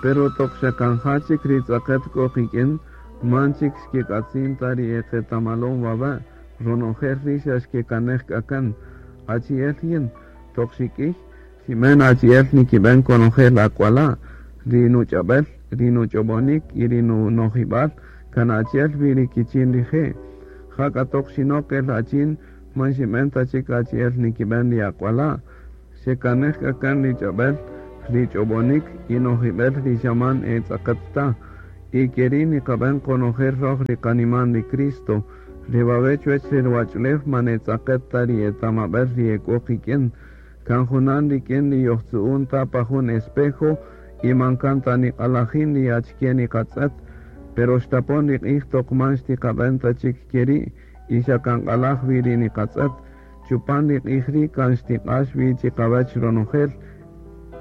Pero toq xa kan ja chik ri tz'aqet k'o qik'in, man chik xkek'atzin ta ri eqetamalon wawe', ronojel ri' xa xkekanej k'a kan. Achi'el yin, toq xik'iy, xinb'en achi'el nikib'en konojel ak'wala', ri nuch'ab'el, ri nuch'ob'onik y ri nunojib'al kan achi'el wi ri kichin rije'. Jak'a toq xinok el achin, man xinb'en ta chik achi'el nikib'en ri ak'wala'. Xekanej k'a kan ri ch'ab'el, ri ch'ob'onik y nojib'el ri xa man e tz'aqet ta. Y keri' niqab'en qonojel röj ri qaniman ri Cristo. Re wawe' chuwäch re ruwach'ulew man e tz'aqet ta ri etamab'äl ri e k'o qik'in. Kan junan rik'in ri yojtzu'un ta pa jun espejo y man kan ta niq'alajin ri achike niqatz'ët. Pero xtapon ri q'ij toq man xtiqab'en ta chik keri' y xa kan q'alaj wi ri niqatz'ët. Chupan ri q'ij ri' kan xtiq'ax wi chiqawäch ronojel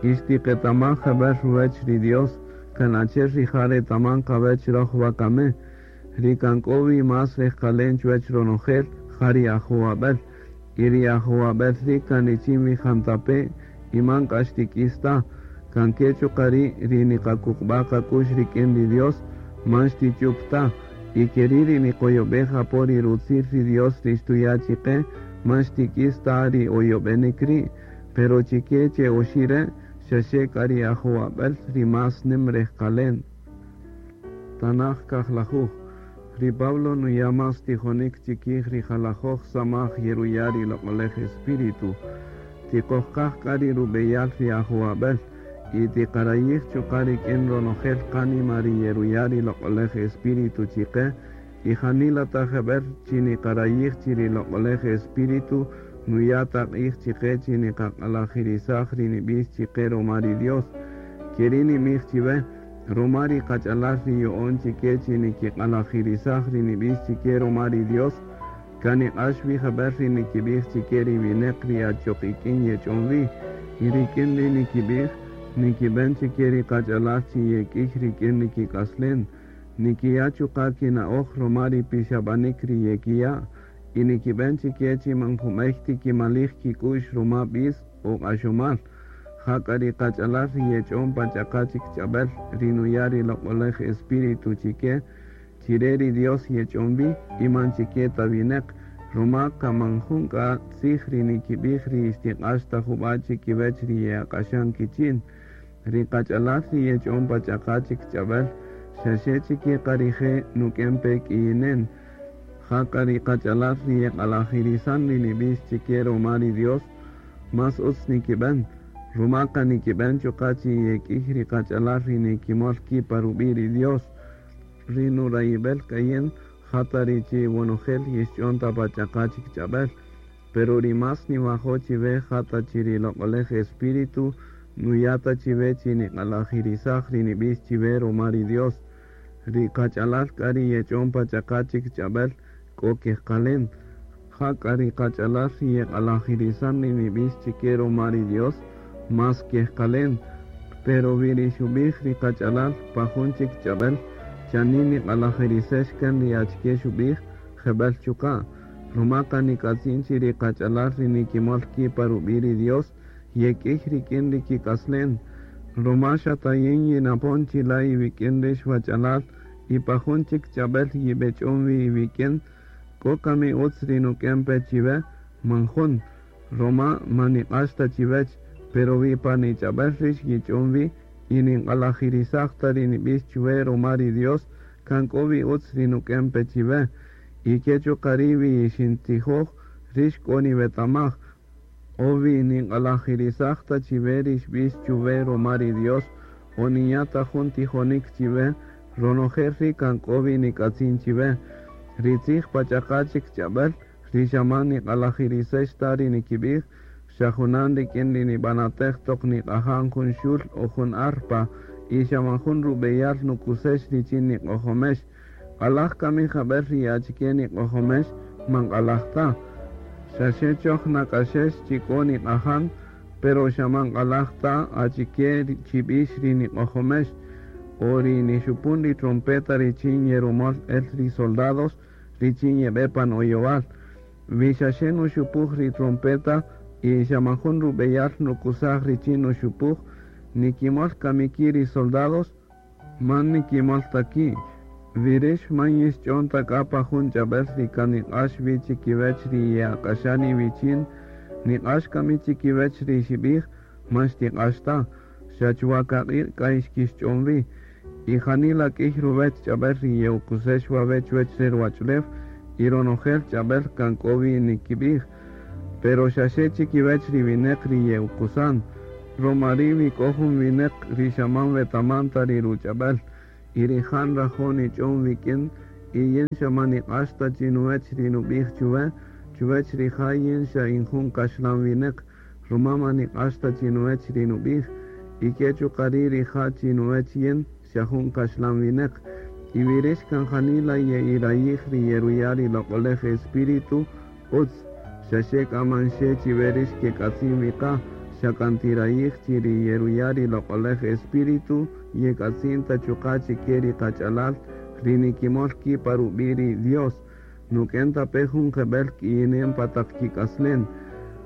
y xtiqetamaj jeb'ël ruwäch ri Dios, kan achi'el rija' retaman qawäch röj wakami. Ri kan k'o wi más rejqalen chuwäch ronojel, ja ri ajowab'äl. Y ri ajowab'äl ri' kan richin wi jantape' y man k'a xtik'is ta. Kan ke chuqa' ri' ri niqakuqb'a' qak'u'x rik'in ri Dios man xtich'up ta. Y keri' ri niqoyob'ej apo ri rutzil ri Dios ri xtuya' chiqe, man xtik'is ta ri oyob'enik ri'. Pero chike che oxi' re', xaxe k'a ri ajowab'äl ri más nim rejqalen. Tanaj kajlajuj. Ri Pablo nuya' más tijonik chikij ri jalajoj samaj yeruya' ri Loq'olej Espíritu. Tiqojqaj k'a ri rub'eyal ri ajowab'äl y tiqarayij chuqa' rik'in ronojel qánima ri yeruya' ri Loq'olej Espíritu chiqe, y janila ta jeb'ël chi niqarayij chi ri Loq'olej Espíritu nuya' ta q'ij chiqe chi niqaq'alajirisaj ri nib'ix chiqe ruma ri Dios. Keri' ninb'ij chiwe, ruma ri qach'alal ri yo'on chike chi nikiq'alajirisaj ri nib'ix chike ruma ri Dios, kan niq'ax wi jeb'ël ri nikib'ij chike ri winäq ri achoq ik'in yech'on wi, y rik'in ri nikib'ij, nikib'en chike ri qach'alal chi yek'iy rik'in ri kik'aslen, nikiya' chuqa' kina'oj ruma ri pixab'anik ri yekiya', y nikib'en chike chi man jub'ey tikimalij kik'u'x ruma b'is o q'axomal. Jak'a ri qach'alal ri yech'on pa ch'aqa' chik ch'ab'äl ri nuya' ri Loq'olej Espíritu chike, chire ri Dios yech'on wi y man chike ta winäq, ruma kan man jun k'a tzij ri nikib'ij ri xtiq'ax ta jub'a' chikiwech ri ye'aq'axan kichin. Ri qach'alal ri yech'on pa ch'aqa' chik ch'ab'äl, xaxe chike qa rije' nuk'en pe k'iyinen. Jak'a ri qach'alal ri yeq'alajirisan ri nib'ix chike ruma ri Dios, más utz nikib'en, ruma kan nikib'en chuqa' chi yek'iy ri qach'alal ri nikimol ki' pa rub'i' ri Dios. Ri nurayib'el k'a yin, ja ta ri chi wonojel yixch'on ta pa ch'aqa' chik ch'ab'äl. Pero ri más niwajo' chiwe ja ta chi ri Loq'olej Espíritu nuya' ta chiwe chi niq'alajirisaj ri nib'ix chiwe ruma ri Dios. Ri qach'alal k'a ri yech'on pa ch'aqa' chik ch'ab'äl k'o kejqalen. Jak'a ri qach'alal ri yeq'alajirisan ri nib'ix chike ruma ri Dios, más kejqalen. Pero wi ri xub'ij ri qach'alal pa jun chik ch'ab'äl, chanin niq'alajirisex kan ri achike xub'ij, jeb'ël chuqa'. Ruma kan nik'atzin chi ri qach'alal ri nikimol ki' pa rub'i' ri Dios, yek'iy rik'in ri kik'aslen. Ruma xa ta yin yinapon chila' iwik'in rix wach'alal y pa jun chik ch'ab'äl yib'ech'on wi iwik'in, k'o kami utz ri nuk'en pe chiwe? Man jun. Ruma man niq'ax ta chiwech, pero wi pa nich'ab'äl rix yich'on wi y ninq'alajirisaj ta ri nib'ix chuwe ruma ri Dios, kan k'o wi utz ri nuk'en pe chiwe. Y ke chuqa' ri' wi yixintijoj, rix k'o niwetamaj. O wi ninq'alajirisaj ta chiwe ri xb'ix chuwe ruma ri Dios, o ninya' ta jun tijonik chiwe, ronojel ri' kan k'o wi nik'atzin chiwe. Ri tzij pa ch'aqa' chik ch'ab'äl, ri xa man niq'alajirisex ta ri nikib'ij, xa junan rik'in ri nib'anatej toq niq'ajan jun xul o jun arpa, y xa man jun rub'eyal nukusex richin niq'ojomex. Q'alaj kami jeb'ël ri achike niq'ojomex, man q'alaj ta. Xaxe choj nak'axex chi k'o niq'ajan, pero xa man q'alaj ta achike chi b'ix ri niq'ojomex, o ri nixupun ri trompeta richin yerumol el ri soldados richin yeb'e pan oyowal. Wi xaxe nuxupuj ri trompeta y xa man jun rub'eyal nukusaj richin nuxupuj, Nikimol kami ki' ri soldados? Man nikimol ta ki'. Wi rix man yixch'on ta k'a pa jun ch'ab'el ri kan niq'ax wi chikiwech ri ye'ak'axan iwichin, niq'ax kami chikiwech ri xib'ij? Man xtiq'ax ta, xa chuwa kaq'iq' k'a xkixch'on wi. Y janila k'iy ruwech ch'ab'el ri ye'ukusex wawe' chuwech re ruwach'ulew, y ronojel ch'ab'el kan k'o wi nikib'ij, pero xaxe chikiwech ri wineq ri ye'ukusan. Roma ri' wi k'o jun wineq ri xa man wetaman ta ri ruch'ab'el, y rija' nrajo' nich'on wik'in, y yin xa man niq'ax ta chinuwech ri nub'ij chuwe, chuwech rija' yin xa in jun kaxlan wineq, ruma man niq'ax ta chinuwech ri nub'ij, y ke chuqa' ri' rija' chinuwech yin xa jun kaxlan wineq. Y wi rix kan janila ye'irayij ri yeruya' ri Loq'olej Espíritu, utz, xaxe k'a man xe chiwe rix kek'atzin wi qa, xa kan tirayij chi ri yeruya' ri Loq'olej Espíritu yek'atzin ta chuqa' chike ri qach'alal ri nikimol ki' pa rub'i' ri Dios, nuk'en ta pe jun jeb'el k'iyinem pa taq kik'aslen.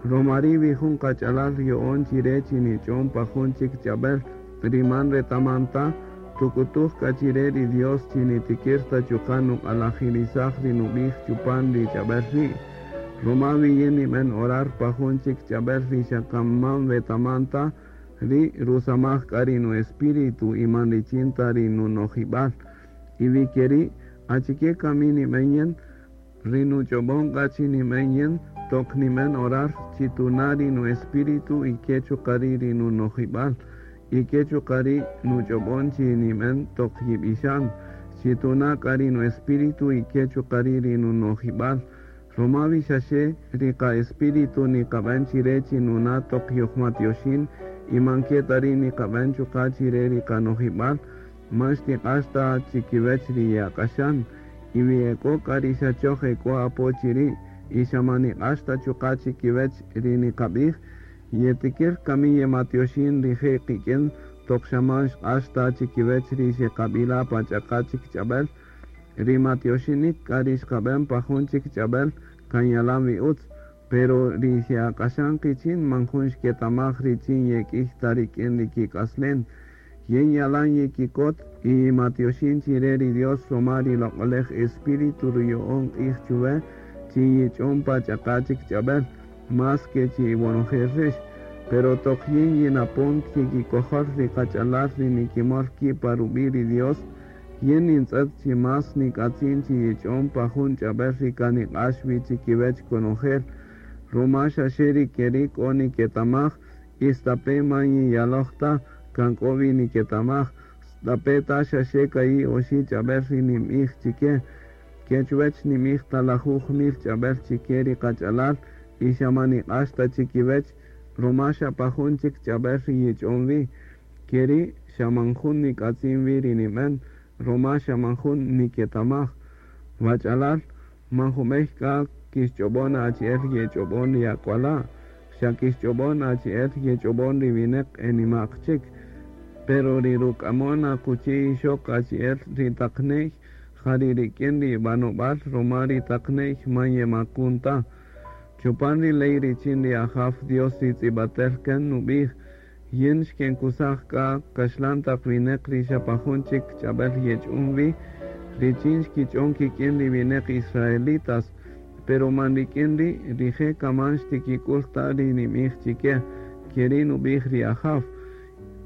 Roma ri' wi jun qach'alal yo'on chi re chi nich'on pa jun chik ch'ab'el ri man retaman ta, tuk'utuj k'a chi re ri Dios chi nitikir ta chuqa' nuq'alajirisaj ri nub'ij chupan ri ch'ab'el ri'. Roma wi yin nib'en orar pa jun chik ch'ab'el ri xa kan man wetaman ta, ri' rusamaj k'a ri nu-espíritu y man richin ta ri nunojib'al. Y wi keri', achike kami nib'en yin? Ri nuch'ob'on k'a chi nib'en yin toq nib'en orar chi tuna' ri nu-espíritu y ke chuqa' ri' ri nunojib'al, y ke chuqa' ri' nuch'ob'on chi nib'en toq yib'ixan, chi tuna' k'a ri nu-espíritu y ke chuqa' ri' ri nunojib'al. Roma wi xaxe ri qa-espíritu niqab'en chire chi nuna' toq yojmatyoxin y man ke ta ri' niqab'en chuqa' chire ri qanojib'al, man xtiq'ax ta chikiwech ri ye'ak'axan. Y wi ek'o k'a ri xa choj ek'o apo chiri' y xa man niq'ax ta chuqa' chikiwech ri niqab'ij, yetikir kami yematyoxin rije' qik'in toq xa man xq'ax ta chikiwech ri xeqab'ila' pa ch'aqa' chik ch'ab'el? Ri matyoxinik k'a ri xqab'en pa jun chik ch'ab'el kan yalan wi utz, pero ri xe'ak'axan qichin man jun xketamaj richin yek'iy ta rik'in ri kik'aslen. Yin yalan yikikot y yimatyoxin chire ri Dios roma ri Loq'olej Espíritu ruyo'on q'ij chuwe chi yich'on pa ch'aqa' chik ch'ab'el, más ke chi iwonojel rix. Pero toq yin yinapon chikikojol ri qach'alal ri nikimol ki' pa rub'i' ri Dios, yin nintz'et chi más nik'atzin chi yich'on pa jun ch'ab'el ri kan niq'ax wi chikiwech konojel, ruma xaxe ri keri' k'o niketamaj, y stape' man yiyaloj ta, kan k'o wi niketamaj, stape' ta xaxe ka'i' oxi' ch'ab'el ri ninb'ij chike, ke chuwech ninb'ij ta lajuj mil ch'ab'el chike ri qach'alal y xa man niq'ax ta chikiwech, ruma xa pa jun chik ch'ab'el ri yich'on wi. Keri' xa man jun nik'atzin wi ri nib'en, ruma xa man jun niketamaj. Wach'alal, man jub'ey k'a kixch'ob'on achi'el yech'ob'on ri ak'wala', xa kixch'ob'on achi'el yech'ob'on ri wineq e nima'q chik. Pero ri ruk'amon akuchi ixoq achi'el ri taq ne'y, ja ri rik'in ri b'anob'al ruma ri taq ne'y man yemakun ta. Chupan ri ley richin ri Ajaw Dios ri tz'ib'atel kan nub'ij, Yin xkenkusaj k'a kaxlan taq wineq ri xa pa jun chik ch'ab'el yech'un wi, richin xkich'on kik'in ri wineq israelitas, pero man rik'in ri' rije' kaman xtikik'ul ta ri nib'ij chike, keri' nub'ij ri Ajaw.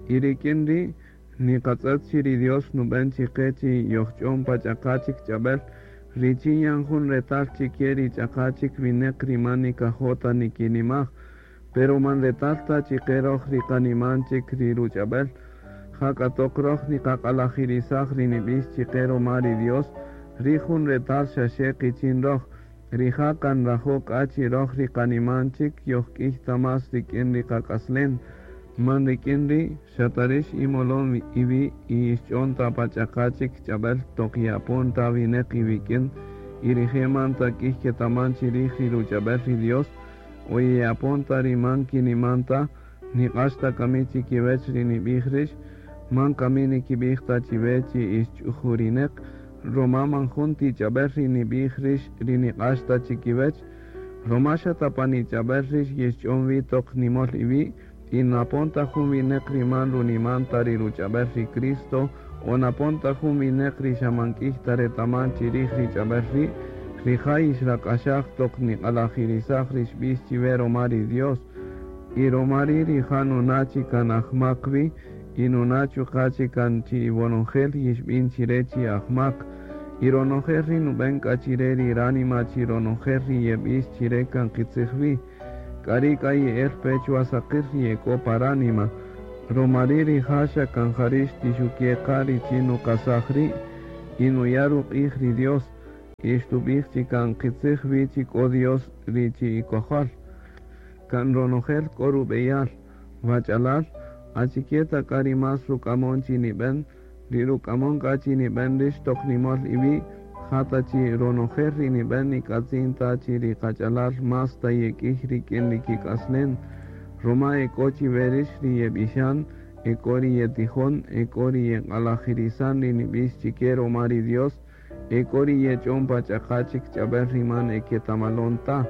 Y rik'in ri' niqatz'et chi ri Dios nub'en chiqe chi yojch'on pa ch'aqa' chik ch'ab'el, richin yan jun retal chike ri ch'aqa' chik wineq ri man nikajo' ta nikinimaj. Pero man retal ta chiqe roj ri qaniman chik ri ruch'ab'el, jak'a toq roj niqaq'alajirisaj ri nib'ix chiqe ruma ri Dios, ri jun retal xaxe qichin roj, rija' kan nrajo' k'a chi roj ri qaniman chik yojk'iy ta más rik'in ri qak'aslen. Man rik'in ri' xa ta rix imolon iwi' y yixch'on ta pa ch'aqa' chik ch'ab'el toq ye'apon ta wineq iwik'in y rije' man ta k'iy ketaman chirij ri ruch'ab'el ri Dios, O ye'apon ta ri man kiniman ta, niq'ax ta kami chikiwech ri nib'ij rix? Man kami nikib'ij ta chiwe chi ix ch'ujurineq, roma man jun tich'ab'el ri nib'ij rix ri niq'ax ta chikiwech? Roma xa ta pan ich'ab'el rix yixch'on wi toq nimol iwi', Y napon ta jun wineq ri man runiman ta ri ruch'ab'el ri Cristo, o napon ta jun wineq ri xa man k'iy ta retaman chirij ri ch'ab'el ri', rija' yixrak'axaj toq niq'alajirisaj ri xb'ix chiwe roma ri Dios. Y roma ri' rija' nuna' chi kan ajmak wi, y nuna' chuqa' chi kan chi iwonojel yixb'in chire chi ajmak. Y ronojel ri nub'en k'a chire ri ránima chi ronojel ri yeb'ix chire kan qitzij wi. K'ari' k'a ye'el pe chwa saqir ri ye k'o pa ránima. Roma ri' rija' xa kan jari' xtixuke' qa richin nuqasaj ri', y nuya' ruq'ij ri Dios, y xtub'ij chi kan qitzij wi chi k'o Dios ri chi ikojol. Kan ronojel k'o rub'eyal, wach'alal, achike ta k'a ri más ruk'amon chi nib'en, ri ruk'amon k'a chi nib'en rix toq nimol iwi', ja ta chi ronojel ri nib'en nik'atzin ta chi ri qach'alal más ta yek'iy rik'in ri kik'aslen. Roma e k'o chiwe rix ri yeb'ixan, e k'o ri yetijon, e k'o ri yeq'alajirisan ri nib'ix chike roma ri Dios, e k'o ri yech'on pa ch'aqa chik ch'ab'el ri man e ketamalon ta,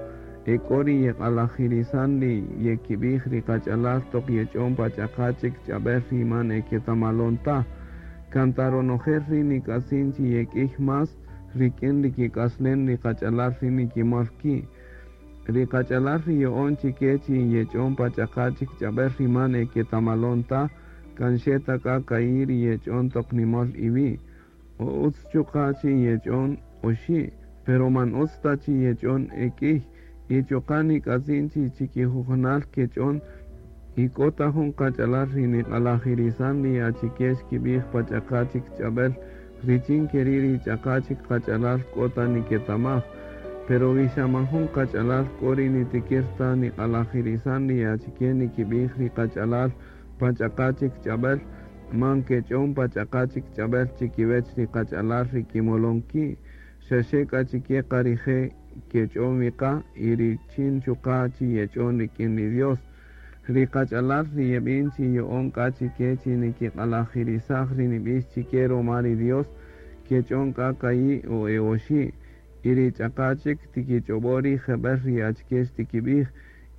e k'o ri yeq'alajirisan ri yekib'ij ri qach'alal toq yech'on pa ch'aqa chik ch'ab'el ri man e ketamalon ta. Kan ta ronojel ri nik'atzin chi yek'iy más rik'in ri kik'aslen ri qach'alal ri nikimol ki'. Ri qach'alal ri yo'on chike chi yech'on pa ch'aqa chik ch'ab'el ri man e ketamalon ta, kan xe ta k'a ka'i' ri yech'on toq nimol iwi'. O utz chuqa' chi yech'on oxi', pero man utz ta chi yech'on ek'iy, y chuqa' nik'atzin chi chikijujunal kech'on, y k'o ta jun qach'alal ri niq'alajirisan ri achike xkib'ij pa ch'aqa chik ch'ab'el, richin keri' ri ch'aqa chik qach'alal k'o ta niketamaj. Pero wi xa man jun qach'alal k'o ri nitikir ta niq'alajirisan ri achike nikib'ij ri qach'alal pa ch'aqa chik ch'ab'el, man kech'on pa ch'aqa chik ch'ab'el chikiwech ri qach'alal ri kimolon ki', xa xe k'a chike qa rije' kech'on wi qa, y richin chuqa' chi yech'on rik'in ri Dios. Ri qach'alal ri yeb'in chi yo'on k'a chike chi nikiq'alajirisaj ri nib'ix chike roma ri Dios, kech'on k'a ka'i' o e oxi', y ri ch'aqa chik tikich'ob'o ri jeb'el ri achike xtikib'ij,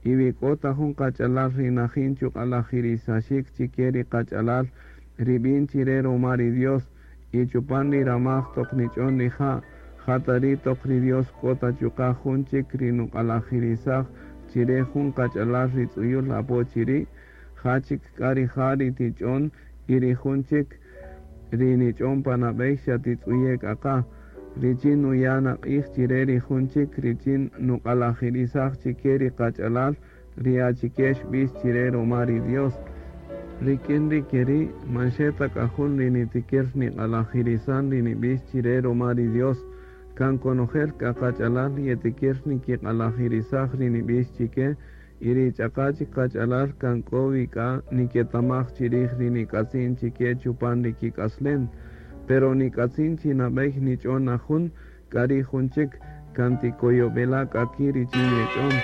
y wi k'o ta jun qach'alal ri najin chuq'alajirisaxik chike ri qach'alal ri b'in chire roma ri Dios, y chupan ri ramaj toq nich'on rija', ja ta ri' toq ri Dios k'o ta chuqa' jun chik ri nuq'alajirisaj chire jun qach'alal ri tz'uyul apo chiri', ja chik k'a rija' ri tich'on y ri jun chik ri nich'on pa nab'ey xa titz'uye' k'a qa, richin nuya' naq'ij chire ri jun chik richin nuq'alajirisaj chike ri qach'alal ri achike xb'ix chire roma ri Dios. Rik'in ri keri' man xe ta k'a jun ri nitikir niq'alajirisan ri nib'ix chire roma ri Dios, kan konojel k'a qach'alal yetikir nikiq'alajirisaj ri nib'ix chike, y ri ch'aqa chik qach'alal kan k'o wi k'a niketamaj chirij ri nik'atzin chike chupan ri kik'aslen. Pero nik'atzin chi nab'ey nich'on na jun, k'a ri' jun chik kan tikoyob'ela' k'a ki' richin yech'on.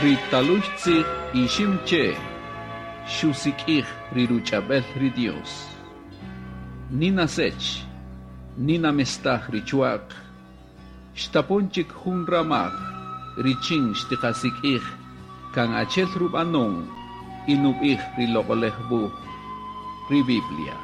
Ri talux tzij ixim che xusik'ij ri ruch'ab'el ri Dios. Nina sech, nina mestaj ri chuaq, xtapon chik jun ramaj, richin xtiqasik'ij, kan achel rub'anon y nub'ij ri loq'olej wuj, ri Biblia.